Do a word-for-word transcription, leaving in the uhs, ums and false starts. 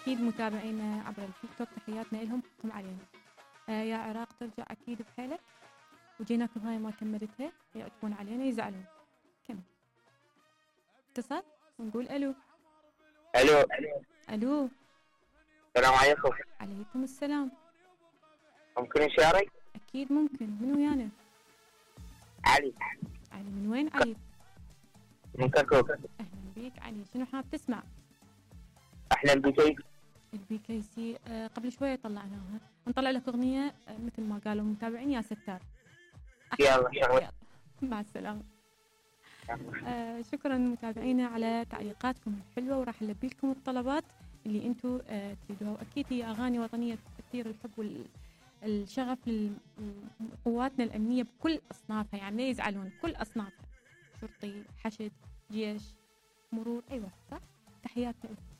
أكيد متابعينا عبر التيك توك تحياتنا لهم حقهم علينا. آه يا عراق ترجع أكيد بحيلك، وجيناك بهاي ما كملتها يعتبون علينا يزعلون. كمل. اتصل ونقول ألو. الو ألو. السلام عليكم. عليكم السلام. ممكن نشارك؟ أكيد ممكن. من ويانا؟ علي. علي من وين علي؟ من كركوك. أهلا بيك علي، شنو حاب تسمع؟ أحلام بيكي. البي كي سي آه قبل شوية طلعناها، نطلع لك أغنية آه مثل ما قالوا المتابعين يا ستار. يلا شغل. مع السلامة. آه شكرا متابعينا على تعليقاتكم الحلوة، وراح نلبي لكم الطلبات اللي انتم آه تريدوها، واكيد هي اغاني وطنية تثير الحب والشغف لقواتنا الامنية بكل اصنافها، يعني لا يزعلون، كل اصنافها، شرطي، حشد، جيش، مرور، ايوه صح. تحياتنا لكم.